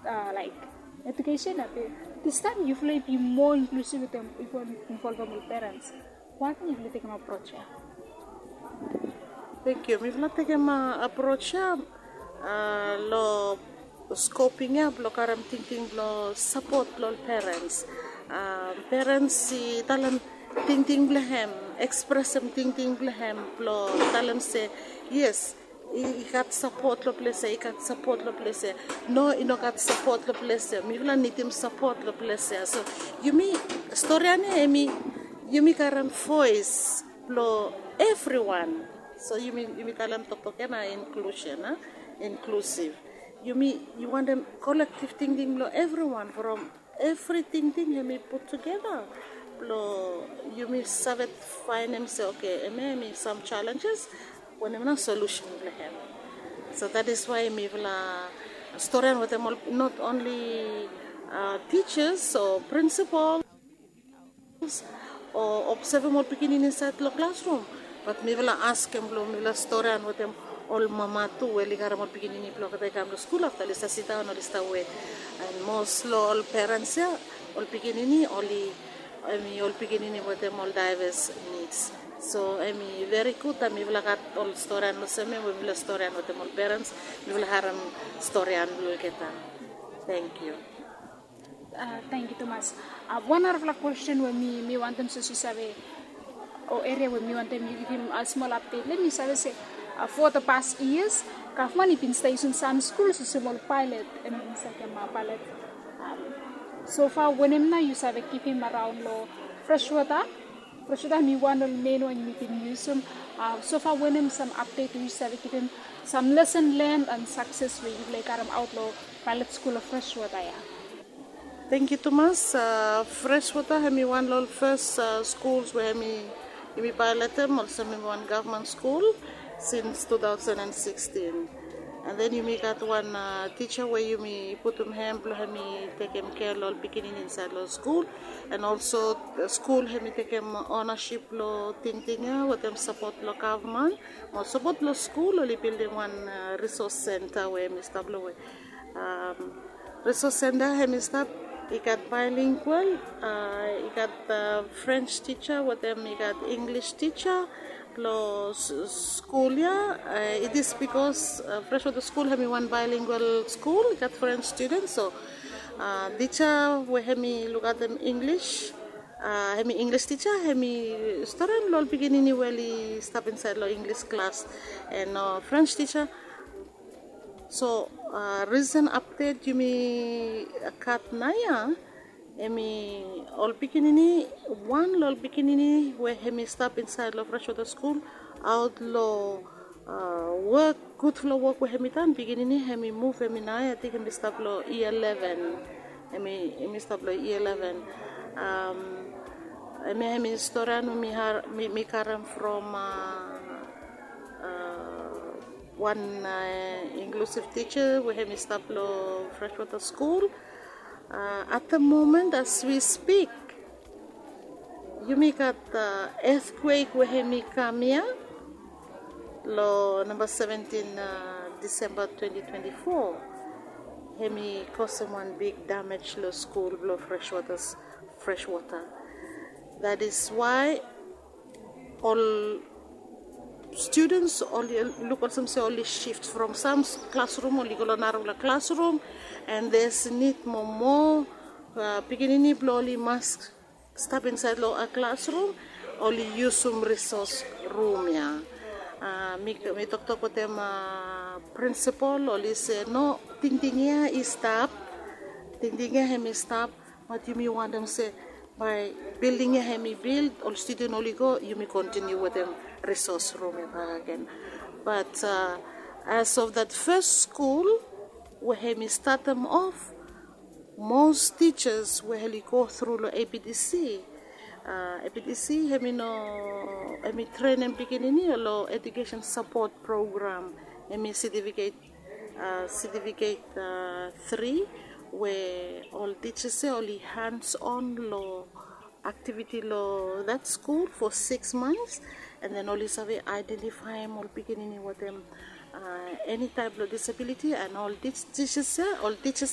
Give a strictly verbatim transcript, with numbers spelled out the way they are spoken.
Laik, edukesen ya be, distaem yufala i bi moa inklusiv wetem yufala involvem ol perens. Wanem yufala i tekem aproj ya? Thank you. Mifala tekem aproj ya long skoping ya blong karem tingting blong sapot long ol perens. Perens i talem tingting blong hem, ekspresem tingting blong hem blong talem se yes, i gat sapot long ples ya, i gat sapot long ples ya. No, i no gat sapot long ples ya. Mifala nidim sapot long ples ya. So yumi, storian ya hemi, yumi karem voes blong evriwan. So yumi, yumi talem toktok ya na inklusen, a, inklusiv. Yumi, yu wantem kolektiv tingting blong evriwan from evri tingting hemi put tugeta blong yumi save faenem se oke, hemia hemi sam jalenjes, wanem nao solusen blong hem. So that is why mifala storian wetem ol, not only tijas o prinsipol o obsevem ol pikinini insaed long klasrum, bat mifala askem blong mifala storian wetem ol mama tu we oli karem ol pikinini blong olgeta i kam long skul afta oli stap sidaon, oli stap wet. And mos long ol perens ya, ol pikinini oli, hemi ol pikinini wetem ol daeves nids. So hemi veri gud taem mifala gat ol storian olsem ya we mifala storian wetem ol perens, mifala harem storian blong olgeta. Thank you. Tangkiu tumas. Wan narafala kwesten we mi, mi wantem se yu save, o eria we mi wantem yu givim smol apdet long hem, mi save se for the past years gavman i bin stap yusum sam skul olsem ol paelet, hemi bin stap kam paelet. So far wanem nao yu save givim araon long Freshwater? Freshwater hemi wan ol men we yumi bin yusum. So far wanem sam apdet we yu save givim, sam lesen len and sakses we yufala i karemaot long paelet skul long Freshwater ya? Tangkiu tumas. Freshwater hemi wan long ol fes skuls we hemi, yumi paeletem olsem hemi wan gavman skul sins two thousand and sixteen. And then yumi gat wan tija we yumi putum hem blong hemi tekem kea long ol pikinini insaed long skul. And also skul hemi tekem onasip long tingting ya wetem sapot blong gavman. Mo sapot blong skul oli bildim wan resos senta we hemi stap long we resos senta hemi stap, i gat baelingual, i gat Frens tija wetem i gat Inglis tija long skul ya. It is bikos Freshwater skul hemi wan baelingual skul, i gat Frens studens, so tija we hemi lukaotem Inglis, hemi Inglis tija, hemi storian long ol pikinini we oli stap insaed long Inglis klas, and Frens tija. So risen apdet yumi gat naoia, hemi ol pikinini, wan long ol pikinini we hemi stap insaed long Freshwater skul, aot long wok, gudfala wok we hemi done, pikinini hemi muv, hemi naoia, ating hemi stap long yia leven. Hemi, hemi stap long yia leven. Hemia hemi storian we mi, mi karem from wan inklusiv tija we hemi stap long Freshwater skul. At the moment as we speak, yumi gat etkwek we hemi kam ya long namba seventin Disemba twenty twenty-four. Hemi kosem wan big damej long skul blong Freshwater, Freshwater. That is why ol studens oli luk olsem se oli sif from sam klasrum oli go long narafala klasrum, and there's need mo moa pikinini blong oli mas stap insaed long klasrum, oli yusum resos rum ya. Mi, mi toktok wetem prinsipol, oli se no, tingting ya i stap, tingting ya hemi stap, bat yumi wantem se bae bilding ya hemi bild, ol studen oli go, yumi kontiniu wetem resos rum ya bakegen. Bat as of that fes skul we hemi statem of, mos tijas we oli go tru long A P D C. A, A P D C hemi no, hemi trenem pikinini long Education Support Program, hemi setifiket, setifiket tri, we ol tijas ya oli hands on long aktiviti long that skul for six months, and then oli save aedentifaem ol pikinini wetem eni taep long disabiliti, and ol tijas ya, ol tijas ya